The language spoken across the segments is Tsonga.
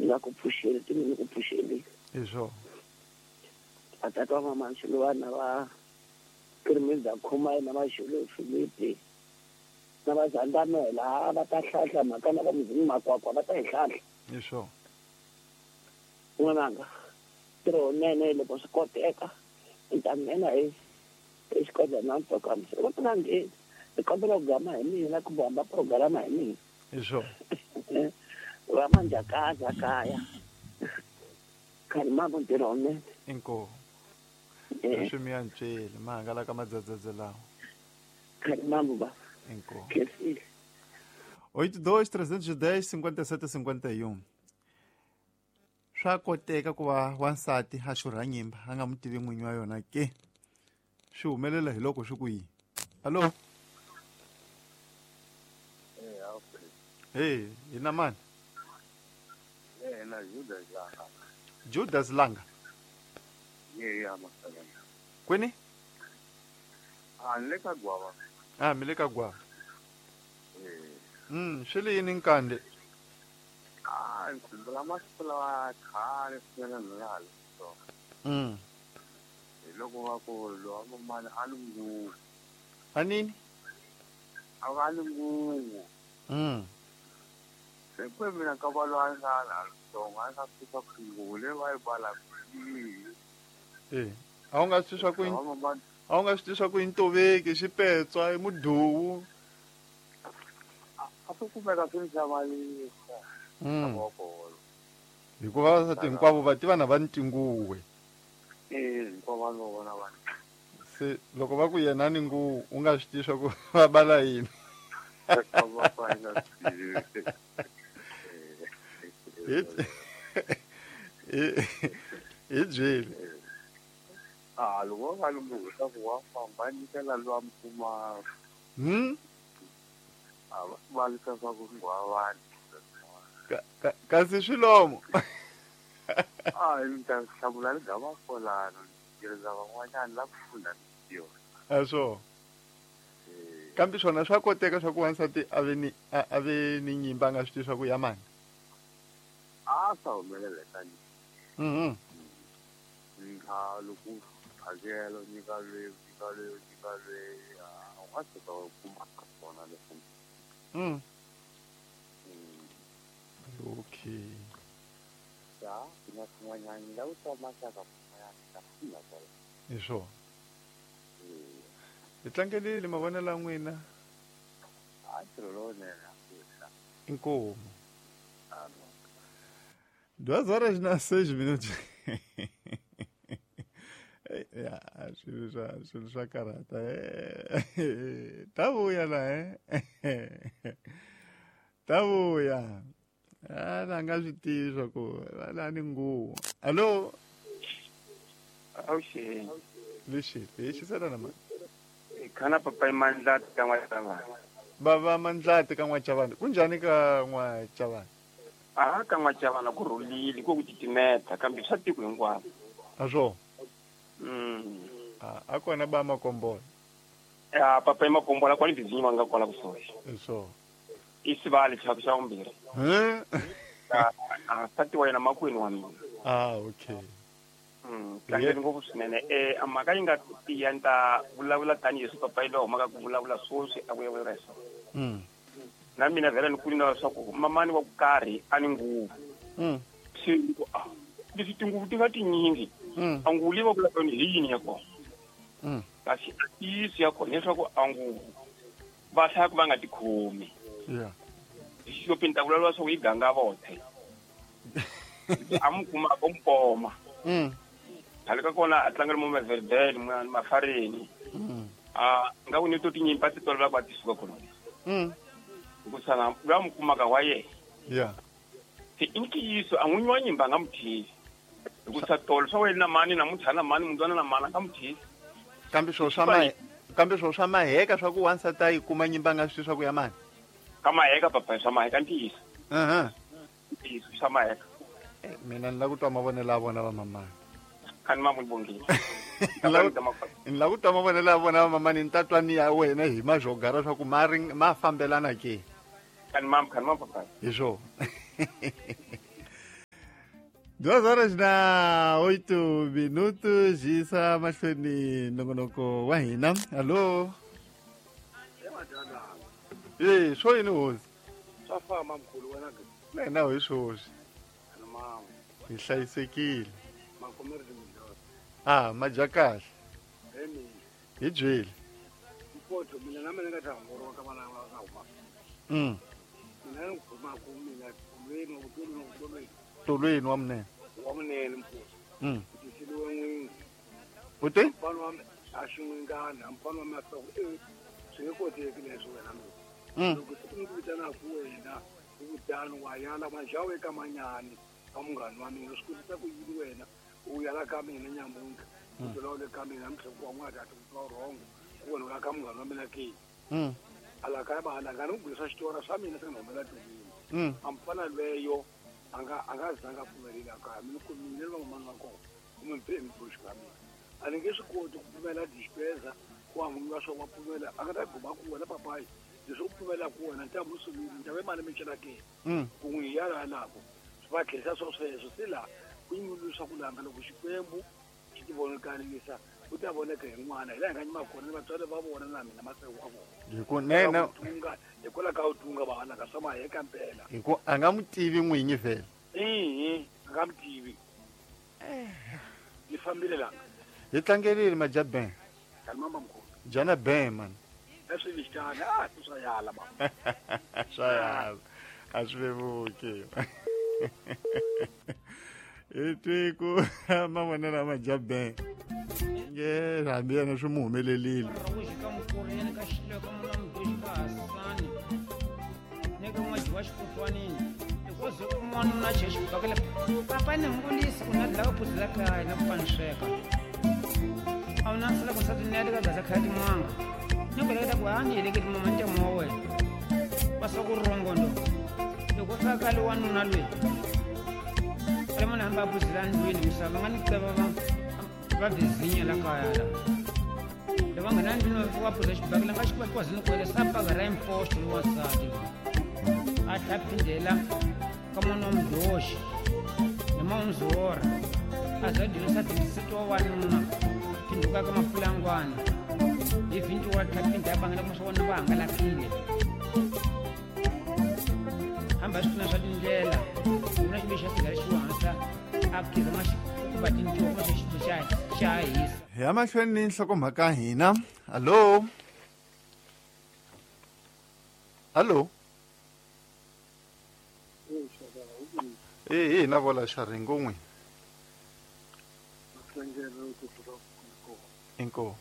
Nga ku pfuxeli ti ni ku pfuxeli. Hi swona. Vatata wa mama Xilwana va Kirimiza Khumai na Maxulu Filipi na va Zandamela va ta hlahla mhaka na va Muzimu Makwakwa va ta yi hlahla. Hi swona. N'wananga ntirho wunene loko swi koteka ni ta nghena hi exikodleni na ntokamisa loko ti nga ngheni ni kombela ku gama hi mina kumbe hamba programa hi mina. Hi swona. Va manjakaza kaya khani mama ntirho wunene. Inkomu. Leswi mi ya ntsweli ma hangalaka madzadzadze lawa. Khani mama ba. Inkomu. Khensile. 82 310 57 51. Swa koteka ku va wansati a xurha nyimba a nga n'wi tivi n'winyi wa yona ke? Swi humelela hi loko swi ku yini? Hallo? Hey, hi na mani? Na Judas Langa. Judas Langa. Yeah, yeah, Kwini? Ah, ni le ka Gwava. Ah, mi le ka Gwava. Swi le yini nkande? Ah, ni khumbula masiku lawa khale swinene ni nga ha ri ntsongo. Hi loko va ku lowa mamani a ni nguvu. A nini? A va ni nguvu. Se kwe mina ka va loyi a nga ha ri ntsongo a nga swi swa ku nguvu leyi va yi balaka Eh, a wu nga swi swa ku a wu nga swi swa ku i ntoveki xipetswa i muduwu. A swi kumeka swi ni hlamarisa. Hikuva vavasati hinkwavo va tiva na va ni tinguwe. Eh, hinkwavo va no vona va. Se loko va ku yena ni nguvu u nga swi tivi swa ku va bala yini. Hi byeli. Ah, loko va ni nguvu swa ku wa famba nyikela lowa mi kuma. A va valisa swa ku nghwavani. Kasi swilomo. Ah, ni ta hlamula ni gama kolano tirhisa van'wanyana la ku funda yona. A swo. Kambe swona swa koteka swa ku wansati a ve ni a ve ni nyimba a nga swi tivi swa ku ya mani. A swa humelela tani. Nga loko phakelo nyika lweyi nyika lweyi nyika lweyi a u nga tshuka u kuma kona leswi. Okay. Ya, na swin'wanyana la ku twa maxaka kun'wanyana ta funda kwala. Hi swona. Hi tlangelile mavonelo ya n'wina. A ntirho lowunene. Inkomu. 2:06. Ya, swilo swa karhata. Ta vuya la Ta vuya. A la nga swi tivi swa ku la ni nguvu. Allo? Awuxeni. Lexi, hi xisela na mani? Khana papa Mandlati ka N'wachavani. Bava Mandlati ka N'wachavani. Kunjhani ka N'wachavani? A ka N'wachavani ku rhulile ku titimeta kambe swa tiko hinkwaro. A swo. A kona ba Makombola. Ya papa Makombola kwale bizinyi va nga kwala kusuhi. Swo. I sivali xa xa vumbirhi. A nsati wa yena makwenu wa mina. Ah, okay. Tlangeni ngopfu swinene. A mhaka yi nga tiya ni ta vulavula tanihileswi papa yi lowu humaka ku vulavula sweswi a vulavula hi swona. Na mina vhela ni kuli na leswaku mamani wa ku karhi a ni nguvu. Se leswi tinguvu ti nga tinyingi a nguvu leyi va vulaka yona hi yini ya kona. Kasi a ntiyiso ya kona hileswaku a nguvu va hlaya ku va nga tikhomi. Hi xixopeni ta vulavula leswaku yi ganga vothe. A mu kuma a mpoma. Khale ka kona a tlangela mo Maverdale Mafareni. A nga ku ni to tinyimpi a ti tolovela ku a ti suka kona. Hikusa na loyi a mu kumaka wa yena. Se i ntiyiso a n'winyi wa nyimba a nga mu thisi. Hikusa tolo swa wena na mani namuntlha na mani mundzwana na mani a nga mu thisi. Kambe swo swa kambe swo swa maheka swa ku wansati a yi kuma nyimba a nga swi tivi swa ku ya mani. Ka maheka papa swa maheka ntiyiso. Ntiyiso swa maheka. Mina ni la ku twa mavonelo ya vona va mamani. Khani ma n'wi bongile. Ni la ku twa mavonelo ya vona va mamani ni ta twa ni ya wena hi mazhogara swa ku ma ma fambelana ke. Khani mam, khani mam papa. Hi swona. 2:08 yisa mahlweni nongonoko wa hina. Hallo. Eh, swo yini hosi? Swa famba mkhulu wena ke. Na hina hi swoswi. Hi hlayisekile. Ah, madya kahle. Hi byeli. Mpoto mina na mina nga ta hongoroka ka vana va ka huma. Mina ni khoma ku mina tolweni wa tolweni. Tolweni wa munene. Wa munene mpoto. Tisiliwe n'wingi. U te? Mfana wa a xi n'wingana, mfana wa mina swi nge koteki leswi wena mina. Loko siku ni ku vitanaka wena u kutani wa yala manjawu eka manyani ka munghana wa mina swi kotisa ku yini wena u yala ka mina nyamuntlha u tlula u le ka mina mhloko wa n'wana ati ku twa rhongo ku wena u ya ka munghana wa mina ke. Ala ka ba ala nga ni ku swa xitora swa mina swi nga humela tolweni. A mfana lweyo a nga zanga pfumelela kaya mina ku mina ni van'wana va kona kumbe mbe mi ka mina a ni nge swi koti ku pfumela dispeza ku wa swo wa pfumela a nga ta guma ku wena papayi leswi u pfumelaka wena nta musulumi nta ve mali mi cela ke ku n'wi yala lako swi va tlherisa swo sweswo se laha ku nyulusa ku langa loko Xikwembu xi ti vonakalisa u ta voneka hi n'wana hi laha hi nga nyima kona ni vatswari va vona na mina maseko wa vona hi ku nene hikwalaho ka u tunga va halaka swa maheka mpela hi ku a nga n'wi tivi n'winyi vhele ihi a nga n'wi tivi ni fambile langa hi tlangelile madya ben mama mkhulu jana ben man a swi yala mama swa yala a swi vevuki hi twi ku mavonelo ya madya ben nge hambi yena swi mu humelelile Hi mahlweni ni nhlokomhaka hina. Hallo. Hallo. Eh, na vola xaringo n'wi. Inko.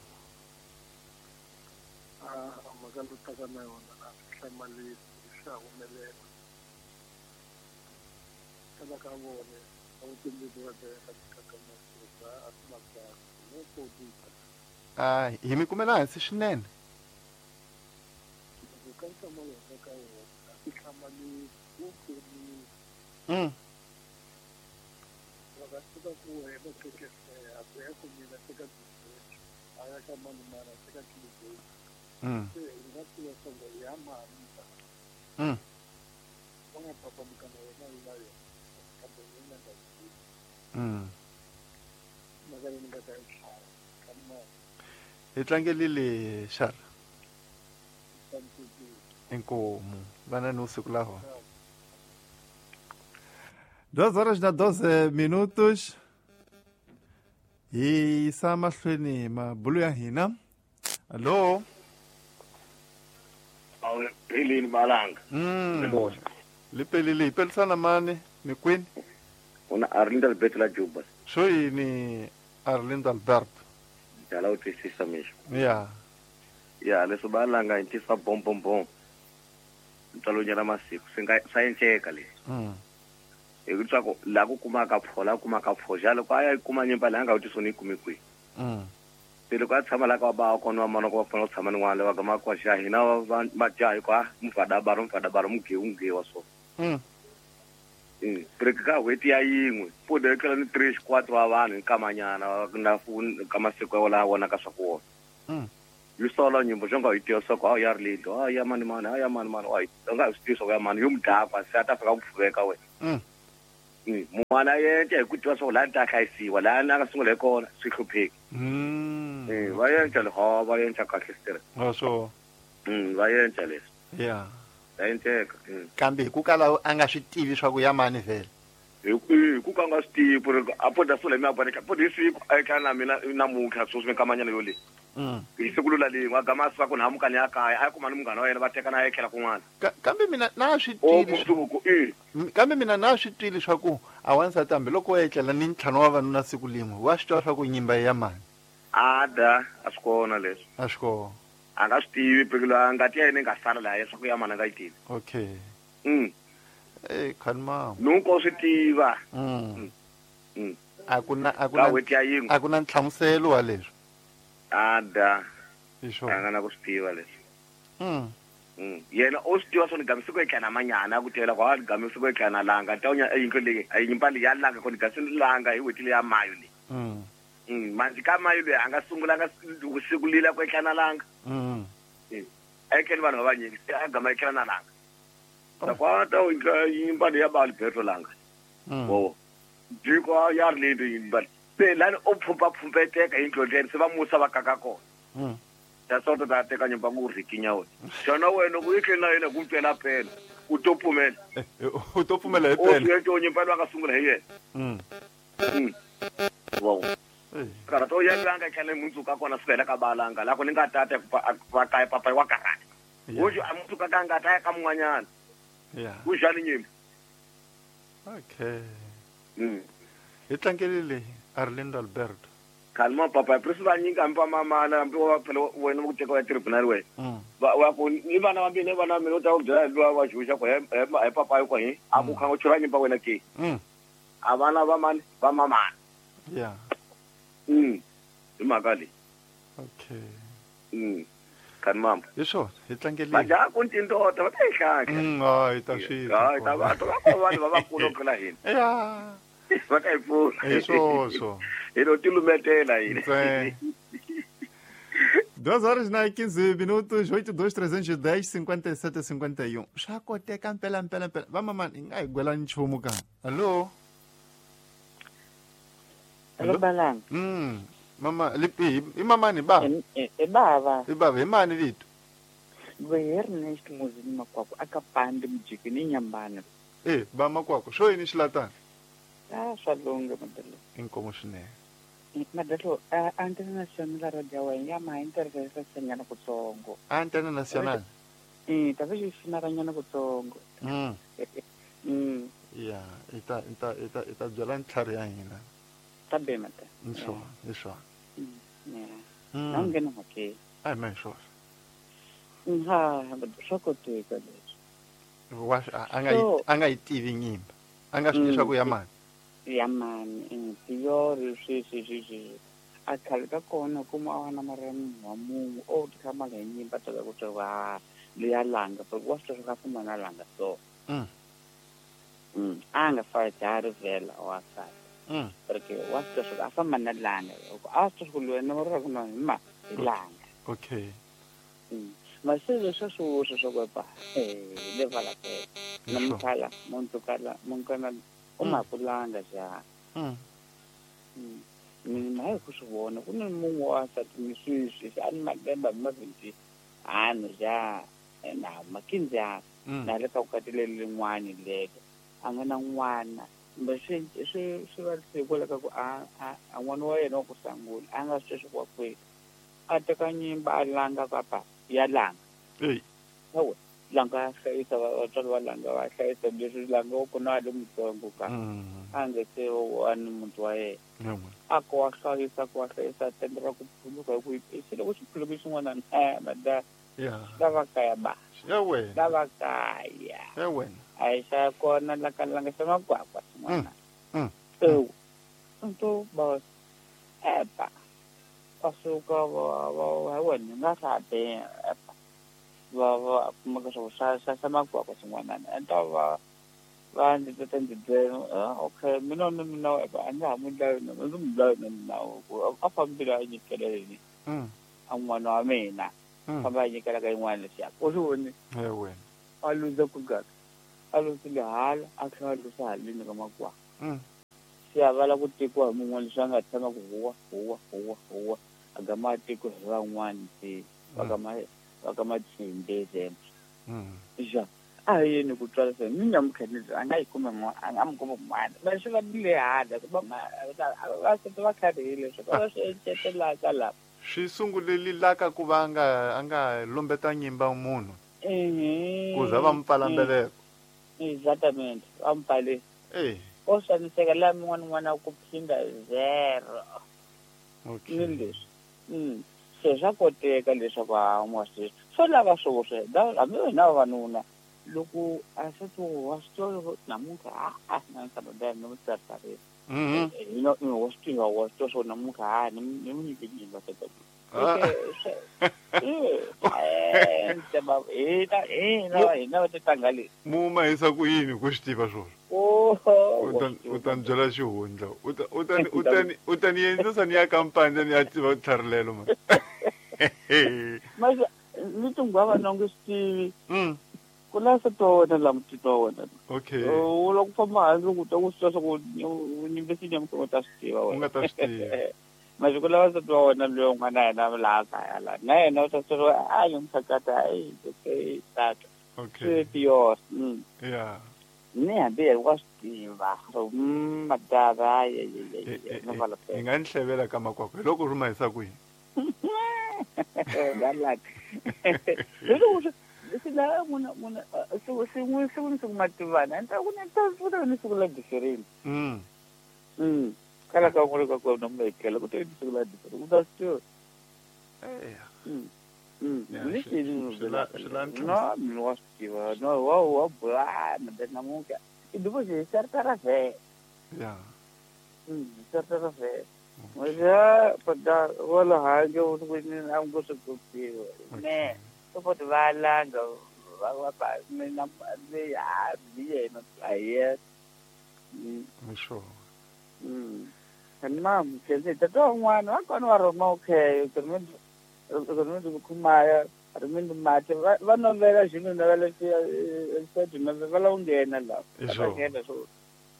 A mhaka taka na yona na hlamalisi swa humelela. Kana ka vona a wu timbili va ka a hi mi kumela hansi swinene. Hi tlangelile xara. Inkomu vana ni usiku laho. 2:12 hi yisa mahlweni mabulu ya hina. Hallo. Pelini malanga. Lipelile ipelisana mani mikwini. Una Arlindo Alberto la Juba. Swo yini Arlindo Alberto? Dala u twisisa mixo. Ya. Ya leswi balanga hi tisa bom bom bom. Ntswalo masiku swi nga swa endleka leswi. Hi ku tswako la ku kumaka pho la kumaka pho ja loko a ya kuma nyimba leyi a nga wu tisoni yi kumi kwihi. Se loko a tshama la ka ba kona wa mana ku va fanele ku tshama ni n'wana va gama kwa xa hina va jaha hikuva mufadabaro mugewu mugewa so. Break ka n'hweti ya yin'we pfuda yi tlula ni 3 4 wa vanhu nkamanyana na ka masiku ya laha vonaka swa ku wona. Yi sola nyimbo xo nga yi tiva swa ku a ya ri lito a ya mani mani a ya mani mani wa u nga swi tivi swa ku ya mani yo mudakwa se a ta fika ku pfuveka wena. N'wana yenca hi ku tiva swa ku laha ni ta hlayisiwa laha ni a nga sungula hi kona swi hlupheki. Va yenca le va yenca kahle sitere. Swo. Va yenca leswi. Yeah. Va yenceka. Kambe hi ku kala a nga swi tivi swa ku ya mani vhele. Hi ku ka nga swi tivi ku ri a po da sula mi a bone po hi siku a tlhela na mina namuntlha sweswi minkamanyana yo leyi. Hi siku lula lin'we a gama a suka ku nhamukani ya kaya a ya kuma ni munghana wa yena va tekana a ya tlhela kun'wana. Kambe mina na swi twile. Kambe mina na swi twile swa ku a wansati hambiloko wa etlela ni ntlhanu wa vanuna siku lin'we wa swi twa swa ku nyimba ya mani. A da a swi kona leswi. A swi kona. A nga swi tivi phela ngati ya yena yi nga sala laha swa ku ya mani a nga yi tivi. Okay. Khanima. Nunko swi tiva. A ku na a ku na nhlamuselo wa leswi. A da. Isho. A nga na ku swi tiva leswi. Yena o swi tiva swo ni gamisa ku etlana manyana ku tivela ku a gamisa ku etlana langa ta unya yindlu leyi a nyimba leyi ya langa ku ni gamisa langa hi weti leya mayo leyi. Manje ka mayo leyi a nga sungulanga siku lila ku etlana langa. A etleni vanhu va vanyingi se a gama etlana langa. Ta kwa ta nyimba leyi ya ba Alberto langa. Wo. Jiko ya ri leyi nyimba. Se lani o phumpa phumpeteka yindlu leyi se va musa va kaka kona. Ta sota ta teka nyimba ku rikinya wena. Xana wena ku etleni na yena ku twela pela. U to pfumela. U to pfumela hi pela. O yena nyimba loyi a nga sungula hi yena. Wo. Karata o ya langa tlhela mundzuku kona swi hela ka balanga la ku ni nga tata va kaya papa wa karata. Hoje a mundzuku ka nga ta ya ka mun'wanyana. Yeah. Ku xani nyimba. Okay. Hi tlangelile Arlindo Alberto. Kalma papa presi va nyika mpa mama na mpi wa phela wena ku teka wa tribunal wena. Va ku ni vana va mina vana mina u ta ku byela lwa wa xuxa ku he papa yo ko hi a ku khanga chura nyimba wena ke. A vana va mani va mamana. Yeah. Hi mhaka leyi. Okay. Khanimamba. Hi swona hi tlangelile. Majaha ku tindota va ta yi hlahla. Hi ta swi. Hayi ta va ta va vanhu va vakulu ku tlula hina. Yeah. Va ta yi pfuna. Hi swoswo. Hi lo tilumetela hina. 2h15 82 310 57 51. Swa koteka mpela mpela mpela. Va mama hi nga hi gwela nchumu ka. Hallo. Hello Balanga. Mama lipi i mama ni ba. E bava. I bava hi mani vito. Ernest Muzini Makwakwa akapande mujiki ni nyambana. Ba Makwakwa swo yini xilatana? Ah swa lunga madalo. Inkomo swinene. Madalo Antena Nacional radio wa ya ma interesa nyana kutsongo. Antena Nacional. Ta va xi nyana kutsongo. Ya, ita ita ita ita byela ntlhari ya hina. Tabe mata. Nisho, nisho. Na ngena hake. Ai mai sho. Ha, swa koteka leswi. Wa a nga yi tivi nyimba. A nga swi leswaku ya mani. Ya mani, tiyori swi. A khale ka kona kuma a wana mara wa munhu o tshama la nyimba ta ku twa leya langa, but wa swi ka fuma na langa so. A nga fa jari vela wa sa. Porque wa swi ka fuma na langa. A swi ku lwena ra ku na ma langa. Okay. Maselo swa swo swo ba. Le vala ke. Namkhala, montukala, monkana o makulanga ja. Mina hi ku swi vona ku ni munhu wa nsati ni sweswi a ni malembe mavhindi hanu ja na makinzi na le ka vukati leri rin'wani lero a nga na n'wana kumbe swi va swi kwala ka ku a n'wana wa yena wa ku sangula a nga swi wa kwihi a teka nyimba a langa papa ya langa hawa langa hlayisa vatswari va langa va hlayisa leswi langa wa kona a le mutsongo ka a nge se wa ni muti wa yena a ko wa hlayisa ku wa hlayisa tendera ku phuluka hi ku se loko xi phuluka xin'wana mada lava kaya ba lava kaya a hi xa kona la ka langa xa Makwakwa xin'wana ewu nto boss epa va suka va wena nga swa be epa va va kumeka swo xa xa Makwakwa xin'wana enta va va ndzi ta ndzi byela okay mina na mina a ndza ha n'wi dlayi na ndzi n'wi dlayi na mina a fambile a nyikela yini a n'wana wa mina famba a nyikela ka yin'wana lexiya u swi voni a luza ku gaka a luzile hala a tlhela a luza haleni ka Makwakwa. Se a va lava ku tekiwa hi mun'wana leswi a nga tshama ku huwa huwa huwa huwa a gama a tekiwa hi van'wana se va ka Matshimbe zembe. Ja a hi yini ku twala se ni Nyamukhanizi a nga yi kuma n'wana a nga mi kuma n'wana va swi va le hala ku va va se va kharihile swi va swi encetelaka la swi sunguleli laka ku va a nga lombeta nyimba munhu ku za va mu pfala mbeleko. Exactamente va mu pfale o xaniseka laha min'wana n'wana ku phinda zero. Okay. Ni leswi se swa koteka leswaku a n'wa swi swo lava swoswe hambi wena vavanuna loko a se to wa swi tiva namuntlha a na nsati ni mu tsarisa wa swi tiva wa swi tiva swo namuntlha ni mu nyike nyimba hina va titanga leswi mu mahisa ku yini ku swi tiva swona u ta ni byela xihundla u ta ni endlisa ni ya kampani ni ya tiva tlharilelo ma mase ni tinghwava na nge swi tivi ku la se to wena la mutitwa wa wena. Okay. U loko famba handle ku twa ku swi twa swa ku nyimbe si nyamuka u ta swi tiva wena. U nga ta swi tiva. Masiku lawa nsati wa wena loyi un'wana na yena laha kaya la na yena u ta swi tiva a yi mphakata ayi okay tata. Okay. Swi yona. Yeah. Ni hambi yena wa swi tiva. Madava ye. Hi nga ni hlevela ka makwakwa hi loko ri mahisa kwihi. Galak. Loko swi la muna muna siku ni siku mativana ni ta ku ni ta pfuta ni siku la different. Kala ka ngore ka kona mekela ku te ni siku la different u ta swi tiva. Ni no mi wa swi tiva no wa bula na namuntlha i divo xi sartara ve. Yeah. Sartara ve. Maja pada wala hange u ku ni a ngo swi tiva. Ne support va langa va va mina le ya yena a ye. Sure. And mom says that un'wana wa kona wa rhoma okay rimindi khumaya rimindi mati va novela xilo novela xi novela va la nghena la va nghena so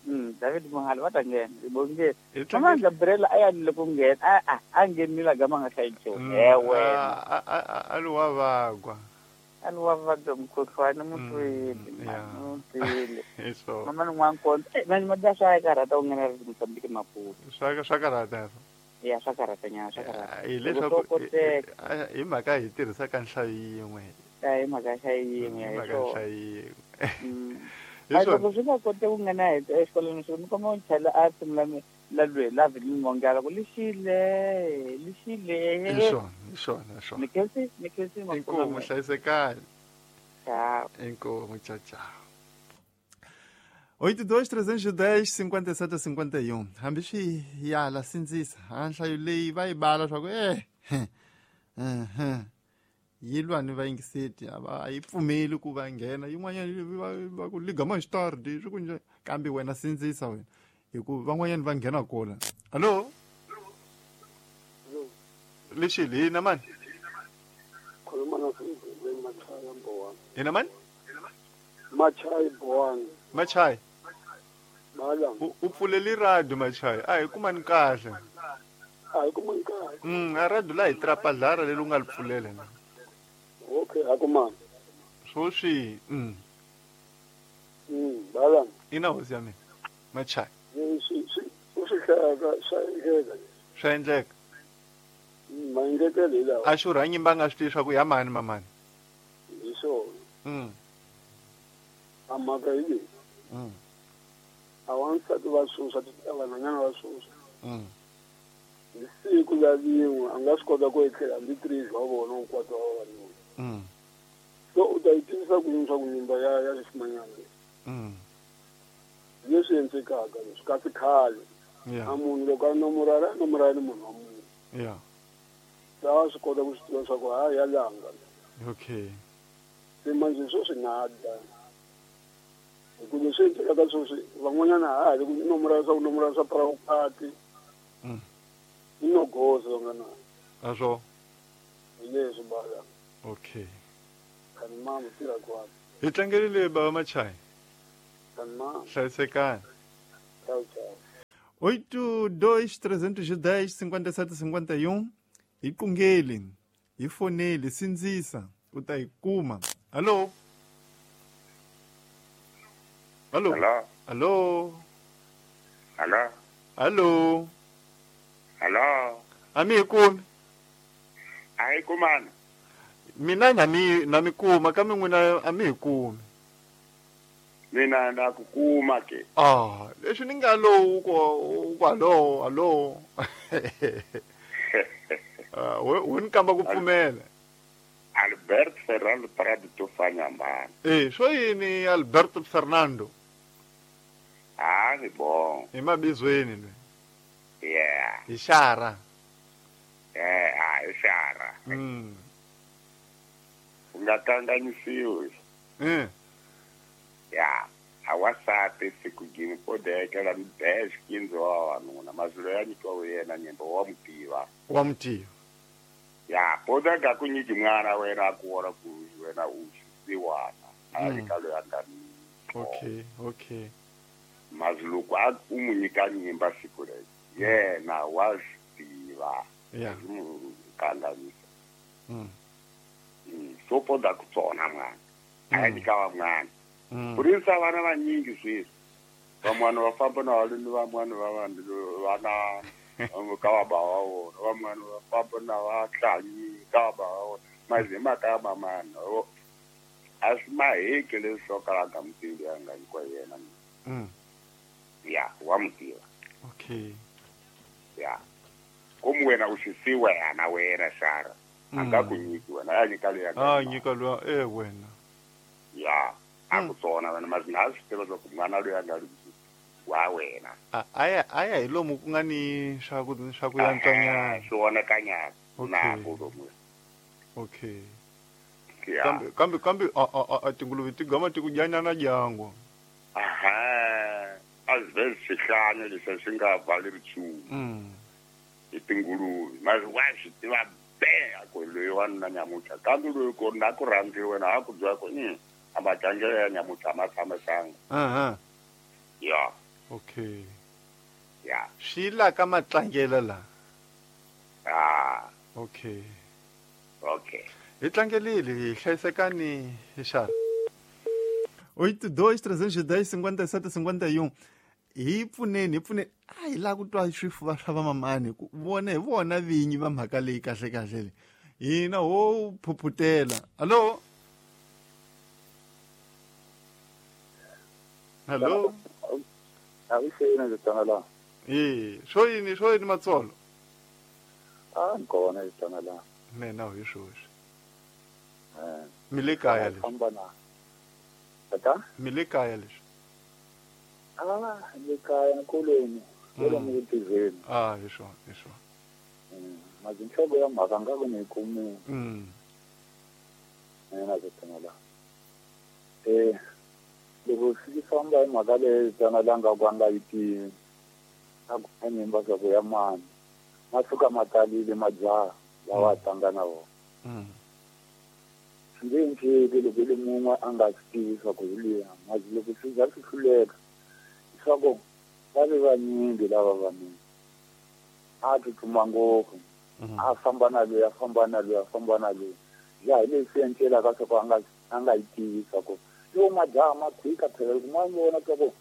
David Mohale va ta nghena bonge mama Gabriela a ya le ku nghena a nghenile gama nga hlayi nchumu ewe a lo wa vagwa a lo wa vagwa mukhuhlwani mutwile mutwile mama n'wana kona mani mada swa karhata u nghena ri Mozambique Maputo swa karhata ya swa karhata nyana swa karhata hi leswaku hi mhaka hi tirhisa ka nhlayo yin'we hi mhaka nhlayo yin'we hi mhaka nhlayo yin'we loko swi nga koti ku nghena exikolweni swi ni komba u chela a tshimula la lwe la vini mongala ku lixile lixile hi swona hi swona hi swona ni khensi inkomu hlayisekani ciao inkomu ciao ciao 82 310 57 51 hambi swi yala sindzisa a nhlayo leyi va yi bala swa ku yi lwa ni vayingiseti a yi pfumeli ku va nghena yin'wanyana va ku ligama xitard swi ku njhe kambe wena sindzisa wena hi ku van'wanyana va nghena kona. Hallo lexi hina mani hina mani Machai Boang. Machai u pfuleli radio Machai a hi kumani kahle a hi kumani kahle a radio la hi trapadlara leri u nga li pfulela na. Okay, akumani. Swoswi. Bala. Ina hosi ya mina. Machai. Swi swa endleka. Maengetelo hi lawa. A xurha nyimba nga swi tivi swa ku ya mani mamani. Hi swona. A mhaka hi leyi. A wansati va susa vanhwanyana va susa. Hi siku la rin'we a nga swi kota ku etlela hambi 3 wa vona hinkwato wa vavanuna. So u ta yi tivisa ku yini swa ku nyimba ya ximanyana leswi endlekaka leswi kasi khale a munhu loko a nomorala a nomorala ni munhu wa munhu a swi kota ku swi tiva swa ku ha ya langa. Okay. Se manje swo swi nada hi ku leswi endlekaka sweswi van'wanyana ha ha ri ku nomorala swa ku nomorala swa parawukati i no goza va nga na aswo hi leswi bala. Okay. Kani mama tirha kwani hi tlangelile baba Machai kani mama hlayisekani. Tchau, tchau. 8 2 310 57 51 hi qungeli hi foneli sindzisa u ta yi kuma. Hallo. Hallo. Hello. Hallo. Hello. Hallo. Hello. A mi hi kumi. A hi kumani. Mina na mi kuma kambe n'wina a mi hi kumi. Mina na ku kuma ke. Ah, leswi ni nga lowu ku hallo hallo. We ni kamba ku pfumela. Albert Fernando Prado Tofanyambana. Swo yini Alberto Fernando? Ah, ni bon. Hi mabizweni lwe. Yeah. Hi xara. Hi xara. U nga kanganyisiwi. Ya, awasati siku gini podekela mbesh kinzo wa wanuna mazulu ya nyikiwa yena nyimbo wa mutiva. Wa mutiva. Ya, podeka ku nyiki mwana wena ku ora ku wena u xisiwana. A ri ka loyi a nga ni. Okay, okay. Mazulu ku a u mu nyika nyimba siku leri. Yena wa swi tiva. Ya. Kanganyisa. So poda ku tsona mwana. A nyika wa mwana. Purisa vana vanyingi sweswi. Van'wana va famba na valuni, van'wana va vanhu vana ka va ba wa vona, van'wana va famba na vahlanyi ka va ba wa vona. Mazi hi mhaka ya mamana a swi maheki leswi swo kala a nga mu tivi a nga nyikiwa yena. Ya, wa mu tiva. Okay. Ya. Komu wena u xisiwa yana wena xara. A nga ku nyiki wena, a nyika loyi a nga. A nyika loyi wena. Ya. A ku tsona wena mazi na swi tiva swa ku mwana loyi a nga ri wa wena. A ya hi lomu ku nga ni swa ku yantswanyana. Swi vonakanyana na ku lomu. Okay. Kambe kambe a tinguluve ti gama ti ku dyanyana dyangu. Aha. A swi swihlanya leswi swi nga valeri nchumu. Hi tinguluve. Mazi wa swi tiva be a ku loyi wa nuna nyamutlha kambe loyi ku na ku rhandziwe wena a ku byela ku a matlangelo ya nyamutlha ma tshamisanga. Ya. Okay. Ya. Swi la ka matlangelo la. Ah. Okay. Okay. Hi tlangelile hi hlayisekani hi xana. 82 310 57 51 hi pfuneni a hi lava ku twa swifuva swa vamamani ku vona hi vona vinyi va mhaka leyi kahle kahle leyi hina ho phuphutela. Hallo. Hallo. A wi xini ndzi tlanga la. Swo yini Matsolo? A ni kona ndzi tlanga la. Mina hi swoswi. Mi le kaya leswi. Tata? Mi le kaya leswi. Ah, le kaya nkuleni. Kule mi tiveni. Ah, hi swona, hi swona. Mazinhloko ya mhaka nga ku ni kumi. Mina ndzi tlanga la. Loko swi famba hi mhaka leyi tsanalanga ku a nga yi tivi a ku nyimba swa ku ya mani ma suka ma talile majaha lawa a tlanga na wona. Swi nge endleki loko i le mun'we a nga swi tivi swa ku hi luya mazi loko swi za swi hluleka leswaku va ve vanyingi lava vanuna a tsutsuma ngopfu a famba na loyi a famba na loyi a famba na loyi ya hi leswi endlelaka swa ku a nga yi tivi swa ku yo majaha ma phika phela loko ma vona swa ku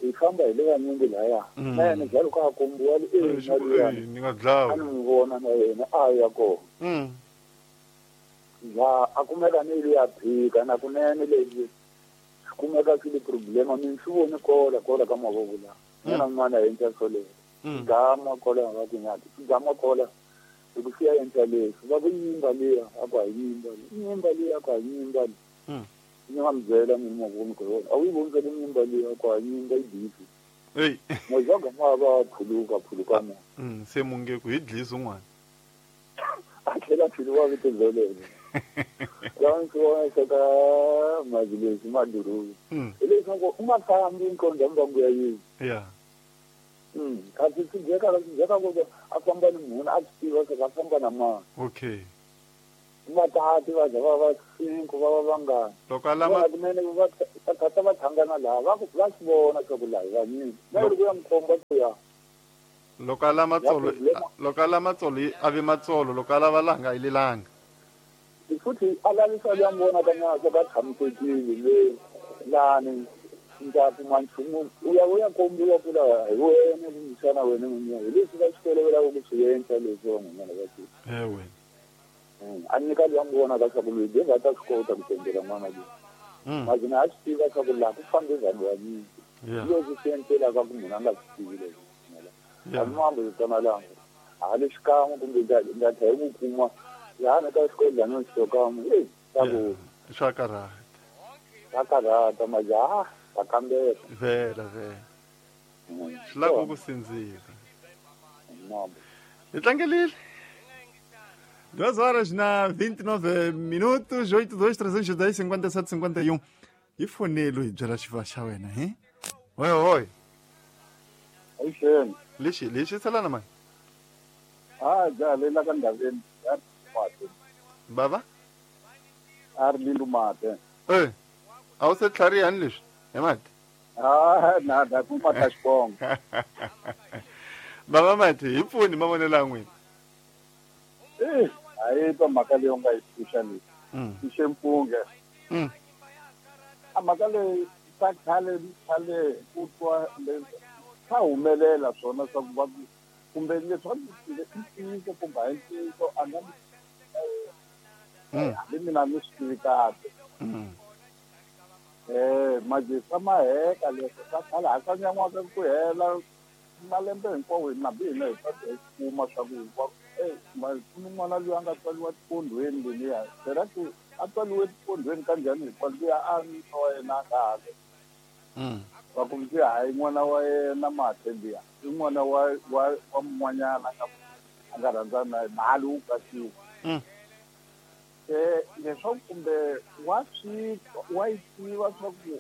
hi famba hi le vanyingi laya na yena njalo ka kombiwa ni nga dlawa a ni n'wi vona na yena a ya kona ya a kumeka ni le ya phika na kunene leswi swi kumeka swi le problema mi swi voni kola ka mavoko la yena n'wana a endla swoleswo gama kola va ku nyati gama kola loko swi ya endla leswi va ku nyimba liya a ku a yi nyimba nyimba liya a ku a yi nyimba ni nga mi byela mina mavoni ku a wu yi voni le nyimba liya ku a nyimba yi bifi. Ey. Mojaga ma va phuluka mo. Se munge ku hi dlisa un'wana. A tlhela phuluka vito lolelo. La ndzi vona saka mazilesi maduru. Hi leswaku u nga fambi nkondzo mbangu ya yini. Yeah. Kasi swi dyeka ku a famba ni munhu a swi tiva swa a famba na mani. Okay. Va tati va za va va 5 va va vangani. Loko a lama kunene va ta va thangana laha va va swi vona swa ku laha vanyingi na loko ya mukhomba ku ya loko a lama tsolo loko a lama tsolo a vi matsolo loko a lava langa a yilelanga futhi a lavisa ya vona ka nyana swa ka tshamisekile le lani ndza kuma nchumu u ya kombiwa ku la hi wena kumbexana wena n'winyi hi leswi va swi tolovelaka ku swi endla leswi van'wanyana va swi ewe a nyika loyi a n'wi vonaka swa ku loyi de va ta swi kota ku tendela n'wana loyi mazina a swi tiva swa ku laha ku fambe vanhu vanyingi leswi swi endlelaka ku munhu a nga swi tivi leswi a mambo tsanalanga hali xikan'we kumbe nga tlhela ku kuma laha ka xikodlana xo kan'we e swa ku swa karhata swa karhata majaha va kambela vhela vhela swi lava ku sindzisa hi tlangelile 2 horas na 29 minutos, 82 310 57 51. Hi fonelo hi byela xiva xa wena, he? Oi, oi. Avuxeni. Lexi, lexi salana mani? Ah, ja le la ka ndhaveni ya mate. Bava? A ri lindu mate. Eh. A wu se tlharihani leswi? He mate? Ah, na da ku mata xibongo. Bava mate, hi pfuni mavonelo ya n'wina. Eh, a yi twa mhaka leyi u nga yi pfuxa leyi. Pfuxe mpunge. A mhaka leyi ta khale khale ku twa swa humelela swona swa ku va kumbe leswi i ntiyiso kumbe a hi ntiyiso a nga hambi mina ni swi tivi kahle. Majisa maheka leswi swa khale a swa nyan'waka ku hela malembe hinkwawo hina hambi hina hi hi kuma swa ku ku ni n'wana loyi a nga tswariwa tipondweni leliya phela ku a tswariwe tipondweni ka njhani hinkwayo luya a nuna wa yena a nga hale va ku ndzi hayi n'wana wa yena mate liya i n'wana wa wa mun'wanyana a nga rhandzana na yena hali wu katsiwa leswaku kumbe wa swi wa yi tiva swa ku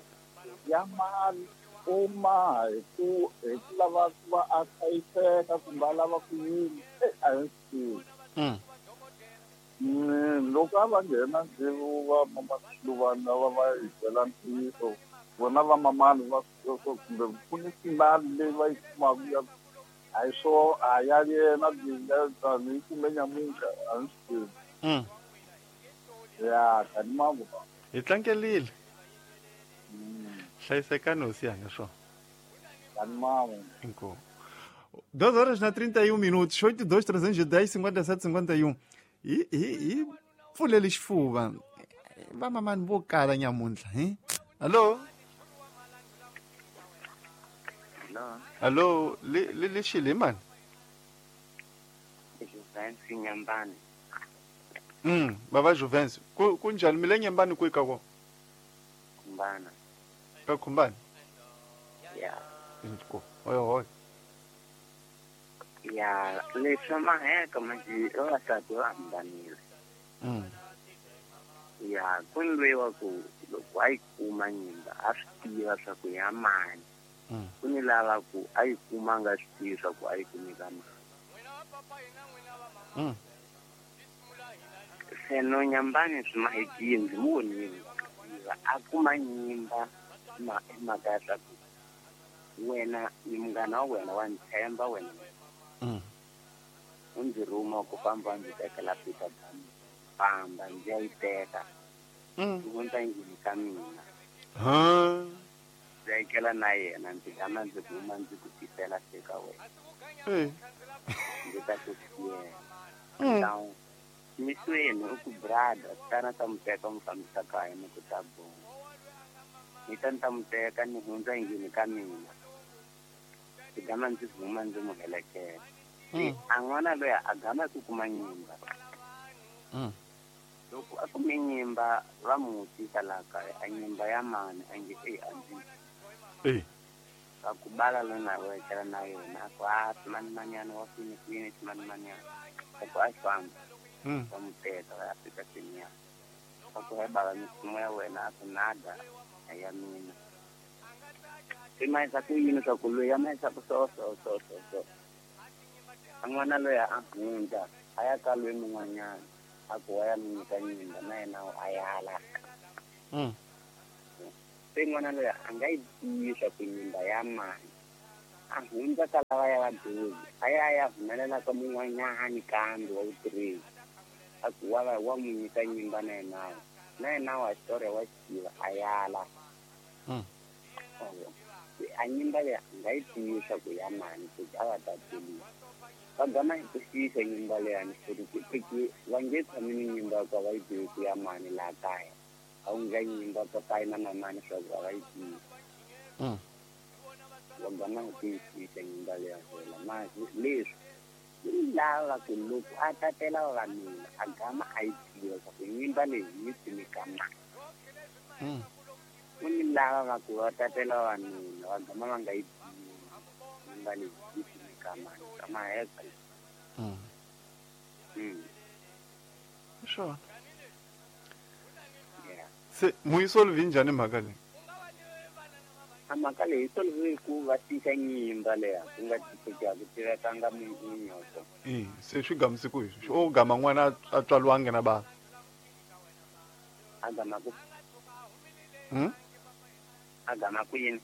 ya mali u maha hi ku lava ku va a hlayiseka kumbe a lava ku yini a hi swi tivi. Loko a va nghena ndzivo va mamaxiluvana va va hi byela ntiyiso vona va mamani va kumbe ku ni mali leyi va yi kumaka ya a hi swo a ya yena yi kume nyamuntlha a ni swi tivi. Ya kani mambo hi tlangelile. Hlayisekani hosi yanga swona. Kani mambo. Inkomu. 2 horas na 31 minutos, 82 310 57 51. Hi pfulele xifuva. Vamamani vo kala nyamuntlha, he? Allo? Allo, le xile mani? Juventus Nyambani. Baba Juventus. Ku njhani mi le Nyambani kwihi ka kona? Khumbana. Ka Khumbana? Ya. Inkomu. Oi oi. Ya, leswi maheka manje vavasati va hambanile. Ya, ku lwiwa ku loko a yi kuma nyimba a swi tiva swa ku ya mani. Ku ni lava ku a yi kuma a nga swi tivi swa ku a yi kumi ka mani. Se no Nyambani swi mahekile ndzi mu vonile a kuma nyimba hi mhaka ya swa ku wena ni munghana wa wena wa ni tshemba wena. U ndzi rhuma ku famba ndzi tekela Peter Dam famba ndzi ya yi teka u hundza endlwini ka mina ndzi ya yikela na yena ndzi gama ndzi huma ndzi ku tisela se ka wena ndzi ta ku siyela misweni u ku brother tana ta mu teka mu fambisa kaya ni ku ta bonga ni ta ni ta mu teka ni hundza endlwini ka mina ndzi gama ndzi huma ndzi mu helekela. A n'wana loyi a gama ku kuma nyimba. Loko a kume nyimba va mu tisa laha kaya a nyimba ya mani a nge a ndzi. Va ku bala lona wa etlela na yena a ku a ximanimanyana wa kwini kwini ximanimanyana a ku a famba va mu teka va ya fika seniya va ku he bava misimu ya wena a ku nada a ya mina. Swi mahisa ku yini swa ku loyi a mahisa ku so so so so so. A n'wana loyi a hundza a ya ka loyi mun'wanyana. A ku wa ya mi nyika nyimba na yena a yala. Se n'wana loyi a nga yi tivi swa ku nyimba ya mani. A hundza ka lava ya vadyondzi a ya ya humelela ka mun'wanyani kambe wa vutirheli. A ku wa mu nyika nyimba na yena. Na yena wa xitori wa xitiva a yala. A nyimba leyi a nga yi tivi swa ku ya mani ku a va tateliwa. Va gama hi ku xiyisa nyimba leyani ku va nge tshami ni nyimba ku va yi tivi ku ya mani laha kaya. A wu nga nyimba papayi na mamani swa ku a va yi tivi. Va gama hi ku yi xiyisa nyimba leya fela. Ma leswi lava ku loko a tatela vavanuna a gama a yi tiva swa ku nyimba leyi yi kumeka mani. Ku ni lava va ku va tatela vavanuna va gama va nga yi tivi nyimba leyi yi kumeka mani. Ka maheka. Swona. Se muyisolvi njhani mhaka leyi? A mhaka leyi solve ku va tisa nyimba leya ku nga tiseka ku tivekanga munyoko. Se swi gamise ku hi o gama n'wana a tswaliwangi na bava. A gama ku A gama ku yini?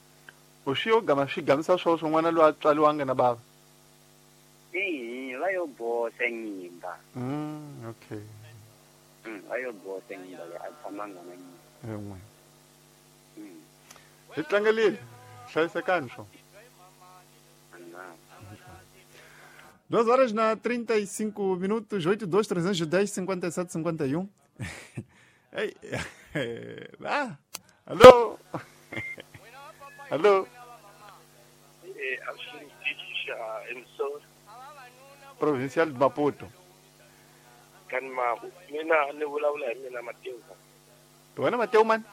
U xi yo gama swi gamisa swoswo n'wana loyi a tswaliwangi na bava. Va yo boxa nyimba. Okay. Va yo boxa nyimba leyi a tshamanga na nyimba. Hi tlangelile hlayisekani swo. 2 horas na 35 minutos, 82 310 57 51. Ei, ah, alô? Alô? Provincial de Maputo. Mina ni vulavula hi mina Mateo. Wena Mateo mani?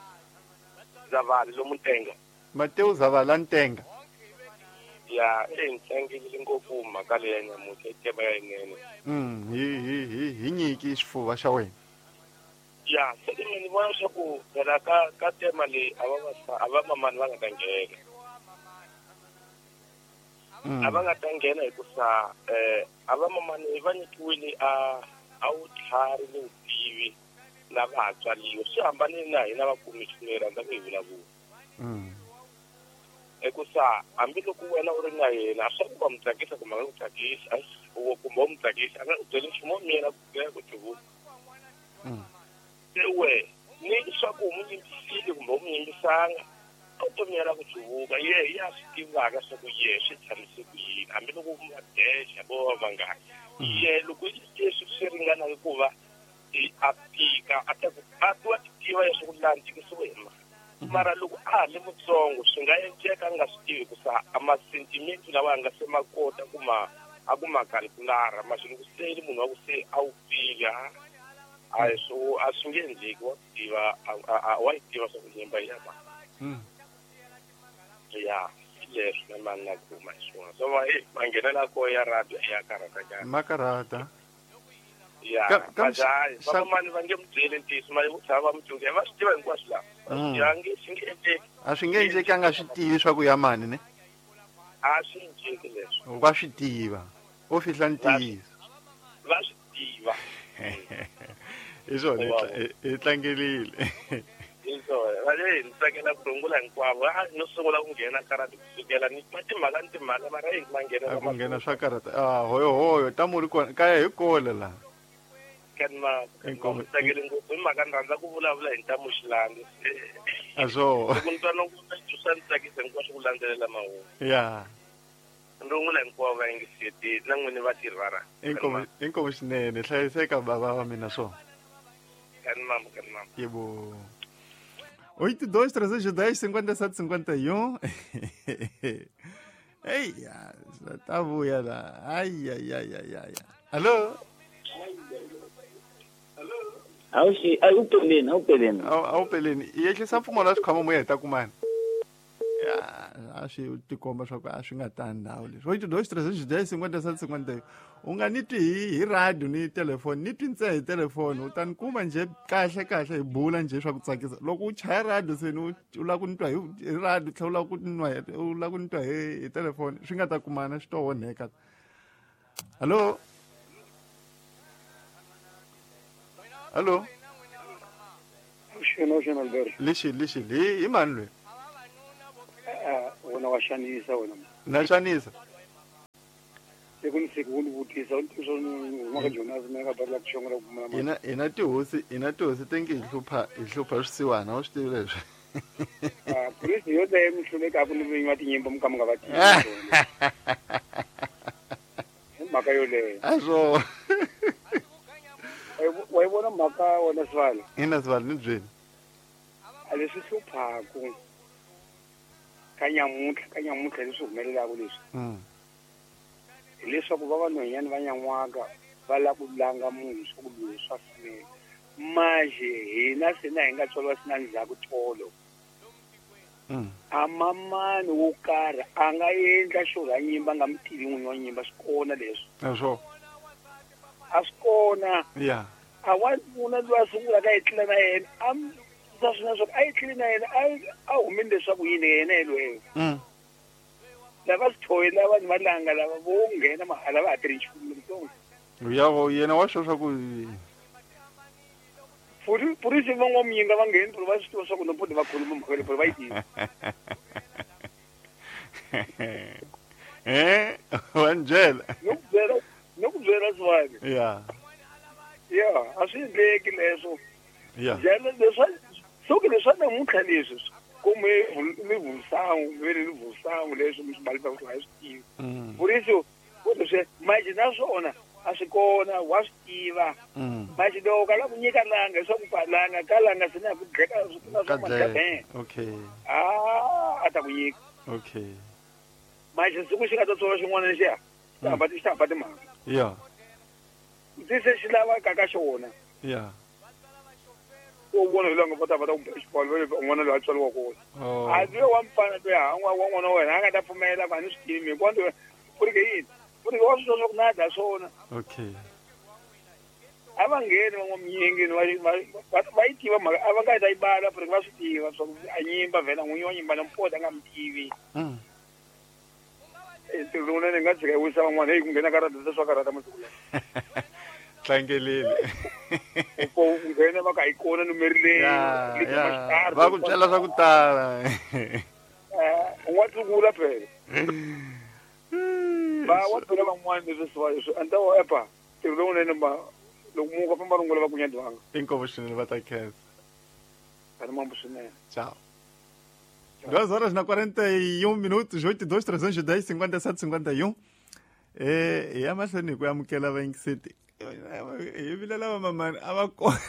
Zavala lomuntenga. Mateo Zavala Ntenga. Ya, ntlangelile ngopfu mhaka leyi ya nyamutlha i tema ya yinene. Hi nyiki xifuva xa wena. Ya, se mina ni vona leswaku phela ka tema leyi a va mamani va nga ta nghena. A va nga ta nghena hikusa a va mamani va nyikiwile a wutlhari ni vutivi lava ha tswaliwa. Swi hambanile na hina vakumixini hi rhandza ku hi vulavula. Hikusa hambiloko wena u ri na yena swa ku va mu tsakisa kumbe a nga ku tsakisi kumbe u mu tsakisa a nga ku byeli nchumu wo miyela ku tivula. Se we ni swa ku u mu yimbisile kumbe u mu yimbisanga a wu to miyela ku cuvuka ye ya swi tivaka swa ku ye swi tshamise ku yini hambiloko va dexa vo va vangani. Ye loko leswi swi ringanaka ku va a tika a ta ku a tiva tiva leswaku laha ntikisiwe hi mali. Mara loko a ha le mutsongo swi nga endleka a nga swi tivi hikusa a masentimente lawa a nga se ma kota ku ma a ku ma calculara ma loko se ri munhu wa ku se a wu pfile a swo a swi nge endleki wa tiva wa yi tiva swa ku nyimba ya ma. Ya leswi na mani na kuma hi swona so va manghenela ko ya radio ya karhata nyana. Makarhata. Ya, vamani va nge mu byeli ntiyiso ma vo tshama va mu tsundzuxa va swi tiva hinkwaswo laha. Ya nge swi nge endleki. A swi nge endleki a nga swi tivi swa ku ya mani ne? A swi endleki leswi. Va swi tiva. O fihla ntiyiso. Va swi tiva. Hi swona hi tlangelile. Hi swona. Va le ni tsakela ku rungula hinkwavo. No sungula ku nghena karata kusukela ni timhaka ni timhaka mara hi ma nghena. Ku nghena swa karata. Ah, hoyo hoyo tamu ri kona kaya hi kole laha. Kanma tsakele ngopfu hi mhaka ni rhandza ku vulavula hi ntamu xilandi. A swo. Loko ni twa loko swa ni tsakisa hinkwaswo ku landzelela mahungu. Ya. Rungula hinkwavo va yingiseti na n'wini vatirhi va ra. Inkomu xinene hlayiseka bava wa mina swo. Kanimambo kanimambo. Yebo. 82 310 57 51. Ei, tá vuya la. Ai ai ai ai ai. Alô? Awupeleni. Awupeleni. Yehlisa mpfumo la xikhwama moya hi ta kumana. A swi tikomba swa ku a swi nga tani ndhawu leswi. 82 310 57 51. U nga ni twi hi radio ni telefoni, ni twi ntsena hi telefoni, u ta ni kuma nje kahle kahle hi bula nje swa ku tsakisa. Loko u chaya radio se ni u lava ku ni twa hi radio tlhela u lava ku nwa u lava ku ni twa hi telefoni, swi nga ta kumana swi to onheka. Hallo? Allo. Xena xena Albert. Lexi lexi hi hi mani loyi? Wena wa xanisa wena. Na xanisa. Siku ni siku u ni vutisa u ni tivisa ni huma ka Jonas mina nga bari la ku xongola ku pfumala Ina ina tihosi ina tihosi te nge hi hlupha hi hlupha swisiwana u swi tivi leswi. Ah, polisi yo leyo mi hlulekaka ni vinyi va tinyimba mi ka mi nga va tivi. Hi mhaka yoleyo. A swo. Wa yi vona mhaka wena Sibali? Ina Sibali ni byeli. A leswi hluphaku ka nyamuntlha ka nyamuntlha leswi humelelaka leswi. Hileswaku va vanhwanyana va nyan'waka va lava ku langa munhu swa ku loyi swa fanela. Manje hina se na hi nga tswariwa se na ndzhaku tolo. A mamani wo karhi a nga endla xo ra nyimba nga mi tivi n'winyi wa nyimba swi kona leswi. A swo. A swi kona. Yeah. A wanuna loyi a sungulaka a etlela na yena a ta swi na swa a etlele na yena a humile leswaku yini yena yelweyo. Lava swi lava vanhu va langa lava vo nghena mahala va ha tirhi nchumu letsongo. Ya yena wa swo swa ku Purisi van'wamuyinga va ngheni puri va swi tiva swa ku nompodi va khuluma mhaka leyi puri va yi tiva. Eh, wa ni byela. No ku byela no ku byela Sibali. Yeah. Ya, a swi endleki leswo. Yeah. Njhani leswa soke leswa namuntlha leswi kumbe mi vusangu mi ri vusangu leswi mi swi baleka ku a swi tivi. Purisi ku leswi manje naswona a swi kona wa swi tiva. Manje loko ka la ku nyika langa leswaku pa langa ka langa se na ku dleka swi na Ka swa dleka. madleka. Okay. Ah, a ta ku nyika. Okay. Manje siku xi nga ta tswala xin'wana lexiya xi hamba xi hamba timhaka. Yeah. Ndzi se xi lava ka ka xona. Yeah. U vona hi langa va ta va ta ku xibalo va le un'wana loyi a tswariwa kona. Oh. A ndzi wa mfana loyi ha wa n'wana wa wena a nga ta pfumela va ni swi tivi hikuva ndzi ku ri ke yini? Ku ri wa swi tiva swa ku na dya swona. Okay. A va ngheni van'wamuyengeni va yi tiva mhaka a va nga ta yi bala ku ri va swi tiva swa ku a nyimba vhela n'winyi wa nyimba na mpota a nga mi tivi. Ntirho lowunene nga tshika yi wisa van'wana heyi ku nghena karata swa karata masiku lawa. Tlangelele. Ku nghena va ka yi kona numeri leyi. Ya, va ku byela swa ku tala. U nga tlukula phela. Va wa byela van'wana leswi swi leswi a ni ta wa epa ntirho lowunene ma loko muka famba rungula va ku nyadwanga. Inkomu swinene va ta khensa. Ani mambo swinene. Tchau. 2 horas na 41 minutos, 82 310 57 51. Eh, ya mahlweni hi ku amukela vayingiseti. Hi vilela va mamani a va kona.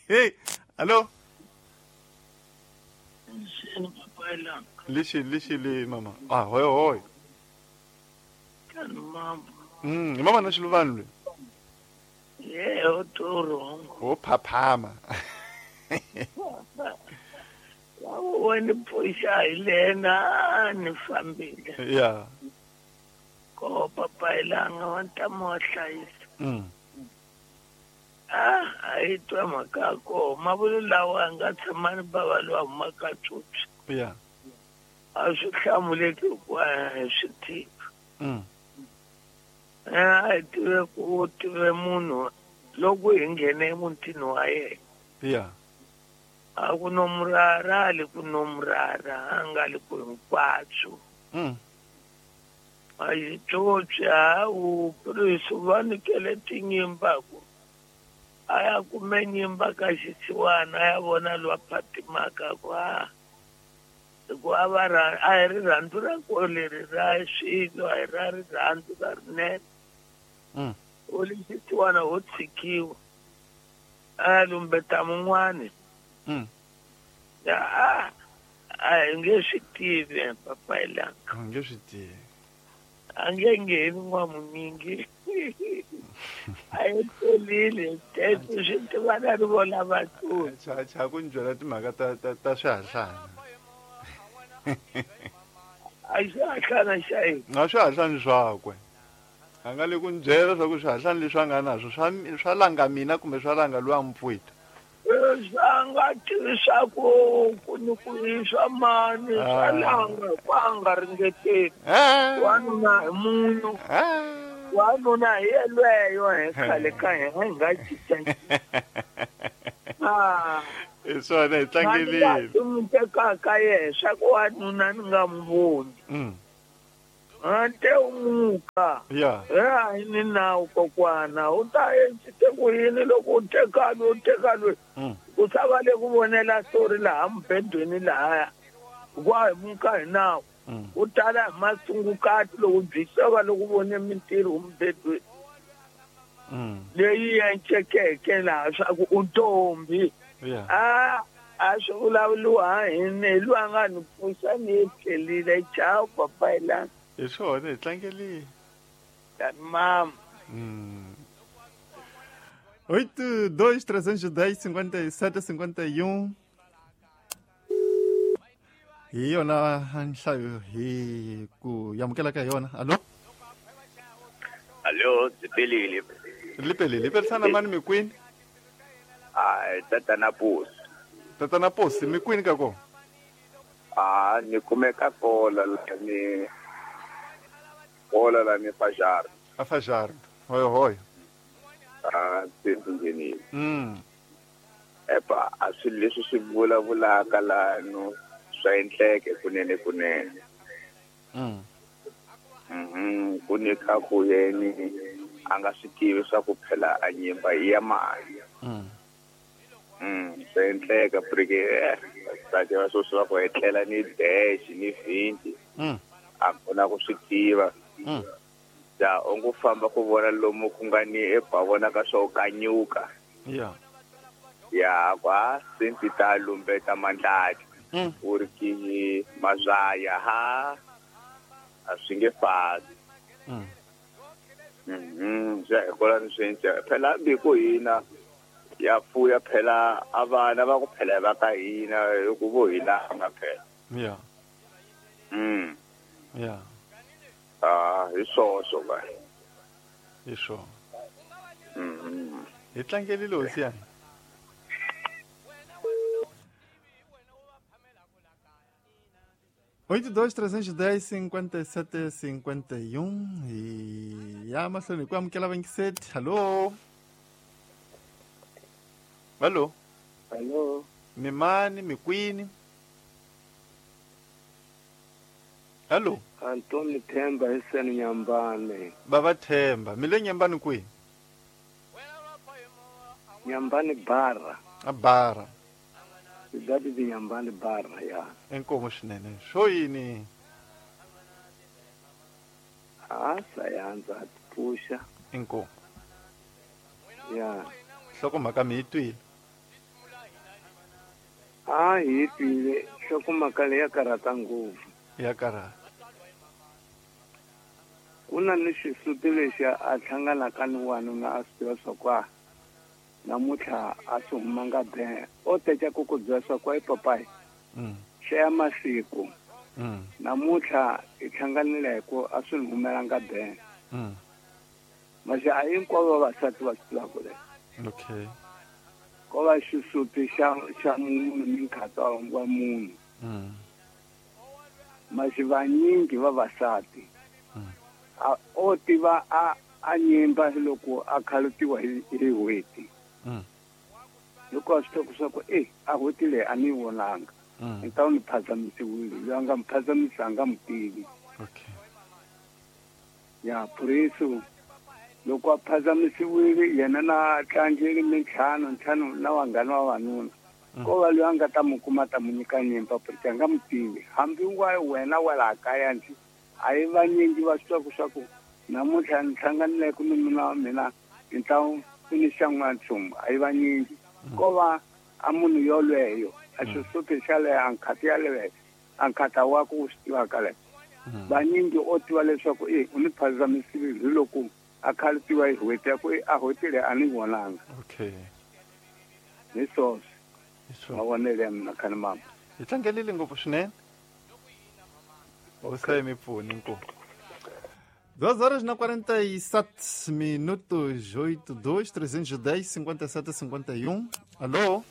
Hey, allo. Lexi lexi le mama. Ah, hoy hoy. Hi mama na Xiluvani loyi. Yebo, toro. Wo phaphama. Wena pfuxa hi lena ni fambile. Yeah. Ko papayilanga wa ntamu wa hlayisa. Ah, a yi twa mhaka ya koho mavulu lawa a nga tshama ni bava lowa humaka tsutsu. Yeah. A swi hlamuleki hikuva hi swi tivi. A hi tive ku tive munhu loko hi nghene emutini wa yena. Yeah. A ku nomurara a le ku nomurara a nga le ku hinkwaswo. A yi tsotsi hawu purisi va nikele tinyimba ku a ya kume nyimba ka xisiwana a ya vona lowa phatimaka ku a hikuva a va a hi rirhandzu ra ko leri ra swilo a hi ra rirhandzu ra rinene. U le xisiwana ho tshikiwa a ya lumbeta mun'wani. A a hi nge swi tivi papayilanga. A nge swi tivi. A nge ngheni n'wamunyingi. A yi tolile teto swi tivana ri vona vatsoni. Cha cha ku ni byela timhaka ta ta ta swihahlana. A xihahlana xa yini? Na swihahlani swakwe. A nga le ku ni byela swa ku swihahlani leswi a nga naswo swa swa langa mina kumbe swa langa loyi a mi pfuita. Swa nga tivi swa ku ku ni ku i swa mani swa langa ku a nga ringeteli. Wanuna hi munhu. Wanuna hi yelweyo he khale ka hina hi nga cinca. Hi swona hi tlangelile. N'wi tekaka yehe swa ku wanuna ni nga n'wi voni. Ante u muka. A hi ni nawu kokwana u ta te ku yini loko u teka loyi u teka loyi. U sa va le ku vonela story laha mubedweni lahaya. Hikuva hi muka hi nawu. U tala hi masungukati loko byi sava loko vone mintirho mubedweni. Leyi encekeke laha swa ku u ntombi. A swi vulavuriwa hi ni loyi a nga ni pfuxa ni yi tlhelile. Ciao papai la. Hi swona hi tlangelile. Mama. 8 2 310 57 51. Hi yona nhlayo hi ku amukela ka yona. Allo? Allo, Zipelile. Lipelile, perisana mani mikwini? Ai, tatana Posi. Tatana Posi, mikwini ka ko? Ah, ni kumeka kola la ni kola la ni Fajardo. A Fajardo. Hoyo hoyo. Ah, tsindzeni. Epa, a swi leswi swi vulavulaka la no swa endleke kunene kunene. Ku ni ka ku yeni a nga swi tivi swa ku phela a nyimba i ya mali. Swa endleka porque sati va swo swa ku etlela ni dash ni 20. A kona ku swi tiva. Ja u ngo famba ku vona lomu ku nga ni eba vona ka swo kanyuka. Ya kwa senti ta lumbeta mandlati. Uri ki mazaya ha a swi nge fani. Ja kola ni swi phela bi ku hina ya fuya phela a vana va ku phela va ka hina hi ku vo hina nga phela. Ah, hi swoswo va. Hi swona. Hi tlangelile hosi yana. 8 2 310 57 51 e ya mahlweni ku amukela vangiseti. Hallo. Hallo. Hallo. Mimani mikwini. Hallo. Antoni Themba hiseni Nyambane. Baba Themba, mi le Nyambane kwihi? Nyambane Barra. A Barra. That is Nyambane Barra, ya. Inkomo swinene. Swo yini? A sayanza pusha. Inkomo. Ya. Nhlokomhaka mi yi twile? A hi twile. Nhlokomhaka leyi ya karhata ngopfu. Ya karhata. Ku na ni xisuti lexi a hlanganaka ni wanuna a swi tiva swa ku a namuntlha a swi humanga be. O teka ku ku byela swa ku ai papai. Hlaya masiku. Namuntlha hi hlanganile hi ku a swi ni humelanga be. Masi a hinkwavo vavasati va swi tivaka leswi. Okay. Ko va xisuti xa munhu ni nkhatsa wa munhu. Masi vanyingi vavasati a o tiva a nyimba loko a khalutiwa hi n'hweti. Loko a swi tiva swa ku a n'hweti leyi a ni yi vonanga. Ni ta ni phazamisiwile, loyi a nga mi phazamisa a nga mi tivi. Okay. Ya puriso loko a phazamisiwile yena na tlangeli mintlhanu ntlhanu na vanghana va vanuna. Ko va loyi a nga ta mi kuma ta mi nyika nyimba porque a nga mi tivi. Hambi wa wena wa laha kaya ndzi a yi vanyingi va swi tiva swa ku namuntlha ni hlanganile ku ni nuna wa mina ni ta ku ni xa n'wanchumu a yi vanyingi. Ko va a munhu yolweyo a xisuti xa leyo a nkhati yaleyo a nkhata wa ku swi tivaka leyo. Vanyingi o tiva leswaku u ni phazamisile hi loko a khalutiwa hi n'hweti ya ku a n'hweti leyi a ni vonanga. Okay. Hi swoswo. Mavonelo ya mina khani mama. Hi tlangelile ngopfu swinene. Hosi mi pfuni inkomu. 2h47 minutos, 82 310 57 51. Alô?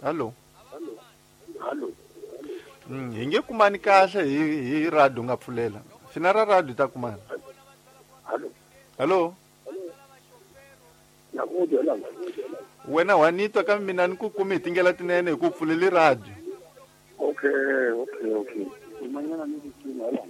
Alô? Alô? Hi nge kumani kahle hi radio nga pfulela. Fina ra radio ta kumana. Hallo. Hallo. Na ku twa la. Wena wa ni twa kambe mina ni ku kumi hi tindlela tinene hi ku pfuleli radio. Okay. Umanyana ni ku hala.